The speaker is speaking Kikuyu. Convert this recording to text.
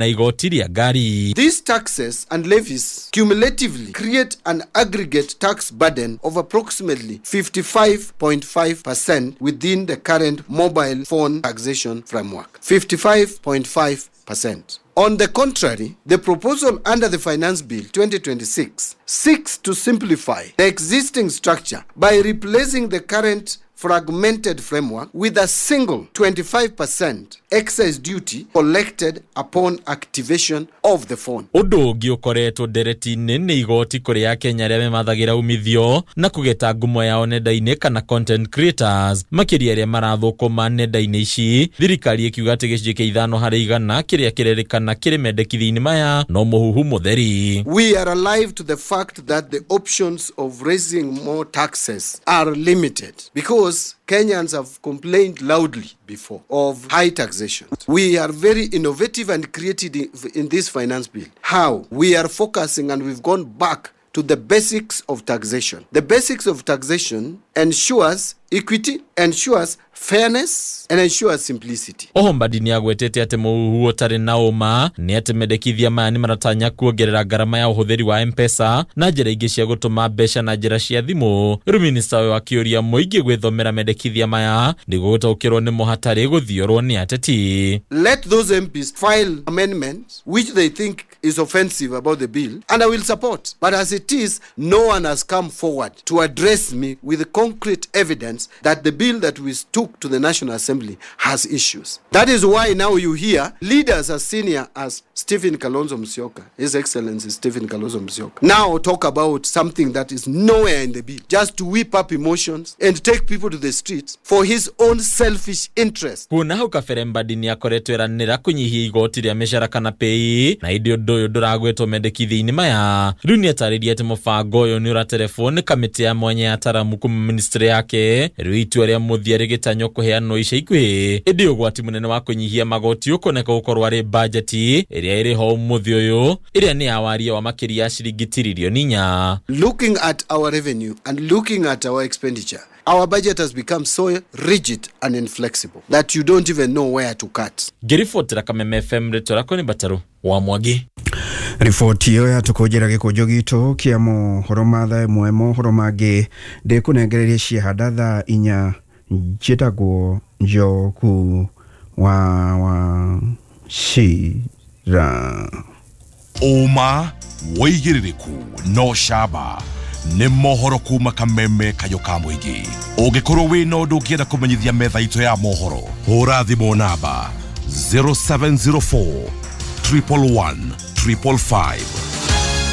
Na igoti rĩa ngari. These taxes and levies cumulatively create an aggregate tax burden of approximately 55.5% within the current mobile phone taxation framework. 55.5%. On the contrary, the proposal under the Finance Bill 2026 seeks to simplify the existing structure by replacing the current fragmented framework with a single 25% excise duty collected upon activation of the phone. Ũndũ ũngĩ ũkoretwo ndereti-inĩ nĩ igoti kũrĩ Akenya arĩa memathagĩra umithio na kũgeta ngumo yao nenda-inĩ kana content creators, makĩria arĩa marathũkũma nenda-inĩ ici. Thirikari ĩkiuga atĩ 5% kĩrĩa kĩrerĩkana kĩrĩ mendekithia-inĩ maya no mũhuhu mũtheri. We are alive to the fact that the options of raising more taxes are limited because Kenyans have complained loudly before of high taxation. We are very innovative and creative in this finance bill. How? We are focusing and we've gone back to the basics of taxation. The basics of taxation ensures equity, ensures fairness, and ensures simplicity. Oho Mbadi nĩ agwetete atĩ mũhuhu ũtarĩ na ũma nĩ atĩ mendekithia maya nĩ maratanya kuongerera ngarama ya ũhũthĩri wa M-Pesa na njĩra ingĩ cia gũtũma mbeca na njĩra cia thimũ. Rĩu minista ũyũ akĩũria mũingĩ gwĩthomera mendekithia maya nĩguo gũtaũkĩrwo nĩmo hatarĩ gũthiorwo nĩ ateti. Let those MPs file amendments which they think is offensive about the bill, and I will support. But as it is, no one has come forward to address me with concrete evidence that the bill that we took to the National Assembly has issues. That is why now you hear leaders as senior as Stephen Kalonzo Musyoka, His Excellency Stephen Kalonzo Musyoka, now talk about something that is nowhere in the bill, just to whip up emotions and take people to the streets for his own selfish interest. Kuona hau kabere Mbadi nĩ akoretwo eranĩra kũnyihia igoti rĩa mĩcara kana pay, na ĩndĩ ũndũ ũyũ ndũragwetwo mendekithia-inĩ maya. Rĩu nĩ atarĩria atĩ mũbango ũyũ nĩ ũraterebwo nĩ kamĩtĩ ya mwanya ya ataramu kuma ministry yake. Rĩu itua rĩa mũthia rĩgĩtanywo kũheanwo ica ikuhĩ, ĩndĩ ũgwati mũnene wa kũnyihia magoti ũkoneka gũkorwo arĩ bajeti ĩrĩa ĩrĩ ho ũmũthĩ ũyũ, ĩrĩa nĩ ya waria wa makĩria ya ciringi tiririoni 4. Looking at our revenue and looking at our expenditure, our budget has become so rigid and inflexible that you don't even know where to cut. Ngĩribotera Kameme FM, rĩtwa rĩakwa nĩ Mbatarũ wa Mwangi. Riboti ĩyo yatũkũnjĩra gĩkũnjo gitũ kĩa mohoro ma thaa 1. Mohoro mangĩ ndĩkũnengereria ciahanda thaa 4. Njĩtagwo Njoku wa Wachira. Ũma wĩigĩrĩrĩku no camba nĩ mohoro kuma Kameme kayo ka mũingĩ. Ũngĩkorwo wĩna ũndũ ũngĩenda kũmenyithia metha itũ ya mohoro, hũra thimũ namba 0704 111 555.